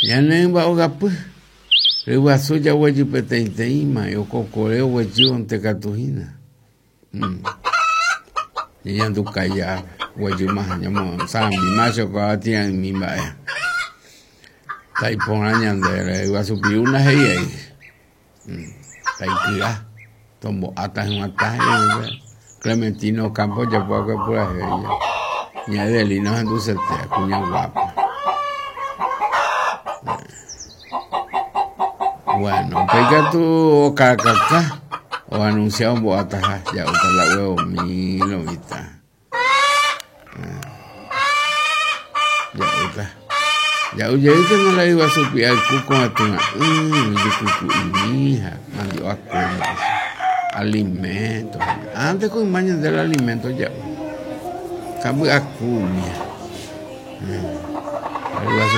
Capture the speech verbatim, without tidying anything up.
Ñane ogapy ryguasu jaguejy peteĩteĩma okokore oguejývonte katu hína. Ñañandukáija guejýma ñamosãmbíma chokoatĩa'ỹmi mba'e. Taiporã ñande ryguasu pirúna he'iai. Taiky'a tombo'áta hyg̃uatã he'i Clementino Ocampo ojapo purahéi ña Edelina ohendusete kuña guápa. Bueno, upéi katu okarakaka oanuncia ombo'ataha ja'úta la huevomi lo mitã. Ja'úta. Ja'u jeýkena la ryguasu pi'ayku ko'ẽtũra'ỹ jykyku'imi ha mandi'o aku mba'e. Alimento. Antes ko yma ñande el alimento ja'u. Kamby aku umía. Ryguasu